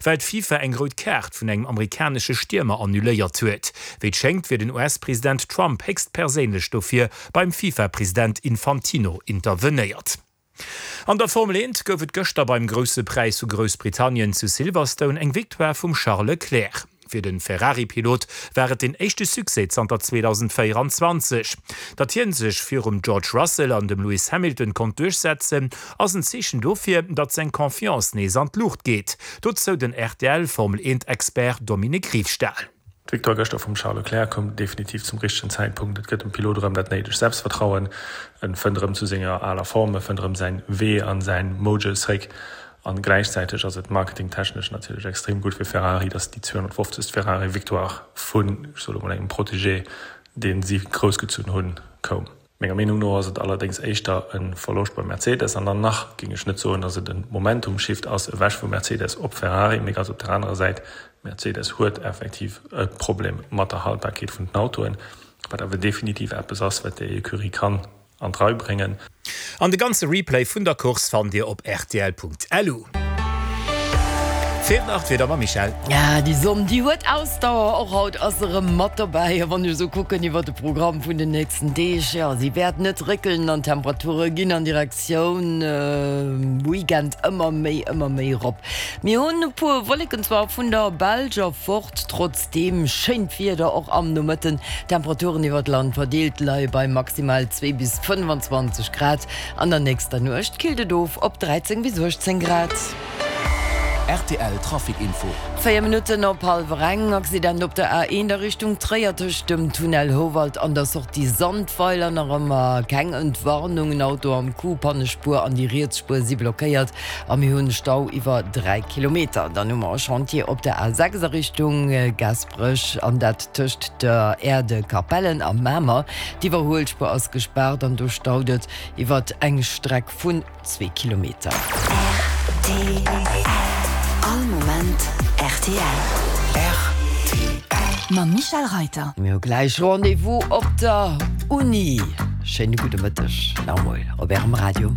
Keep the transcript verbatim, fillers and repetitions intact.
well d'FIFA eng rout Kaart vun engem amerikanesche Stiermer annuléiert huet. Wéi et schéngt, wier den US-President Trump héchstperséinlech dofir beim FIFA-President Infantino intervenéiert. An der Formel eent gouf et gëschter beim Grousse Präis vu Groussbritannien zu Silverstone eng Victoire vum Charles Leclerc. Fir de Ferrari-Pilot war et den éischte Succès zanter zweedausendvéieranzwanzeg. Datt hie sech virum George Russell an dem Lewis Hamilton konnt duerchsetzen, ass en Zeechen dofir, datt seng Confiance nees an d'Luucht geet. Dozou den R T L-Formel-eent-Expert Dominique Riefstahl. D'Victoire gëschter vum Charles Leclerc koum definitiv zum richtegen Zäitpunkt. Et gëtt dem Pilot erëm dat néidegt Selbstvertrauen, en fënnt erëm zu senger aler Form, e fënnt erëm säin Wee an säin Mojo zréck. An gläichzäiteg ass et marketingtechnesch natierlech extrem gutt fir Ferrari, dass déi zweehonnertfofzegst Ferrari-Victoire vun, ech soe lo mol, engem Protégé, dee si groussgezunn hunn, koum. Menger Meenung no ass et allerdéngs éischter e Verloscht bei Mercedes an dann nach géing ech net soen, datt et e Momentum-Shift ass ewech vu Mercedes op Ferrari, mee ganz op der anerer Säit, Mercedes huet effektiv e Problem mat der Haltbarkeet vun den Autoen, wat awer definitiv eppes ass, wat déi Ecurie kann an d'Rei bréngen. An de ganze Replay vun der Course fannt Dir op rtl Punkt L U. Fir nach d'Wieder mam Michèle. Ja, déi Sonn, déi huet Ausdauer, och haut ass se erëm mat dobäi. A wann ech esou kucken iwwer de Programm vun den nächsten Deeg, jo, si wäert net réckelen an d'Temperature ginn an Direktioun Weekend ëmmer méi, ëmmer méi erop. Mir hunn e puer Wolleken zwar vun der Belsch erfort, trotzdeem schéint Wieder och am Nomëtten. D'Temperaturen iwwer d'Land verdeelt leie bei maximal zwee bis fënnefanzwanzeg Grad. An der nächster Nuecht killt et of op dräizéng bis uechtzéng Grad. R T L Trafic Info. Véier Minutten op hallwer eng, Accident op der A eent a Richtung Tréier tëscht dem Tunnel Houwald an der Sortie Sandweiler. Nach ëmmer keng Entwarnung, en Auto am Coup, Pannespuer an déi riets Spuer si blockéiert a mir hunn Stau iwwer dräi Kilometer. Dann hu mer e Chantier op der A sechs a Richtung Gaasperech an dat tëscht der Aire de Capellen a Mamer. D'Iwwerhuelspuer ass gespaart an do staut et iwwer eng Streck vun zwee Kilometer. R T L. All Moment R T L. R T L. Mam Michèle Reiter. Mir hu gläich Rendez-vous op der Uni. Schéine gudde Mëtteg nach emol op Ärem Radio.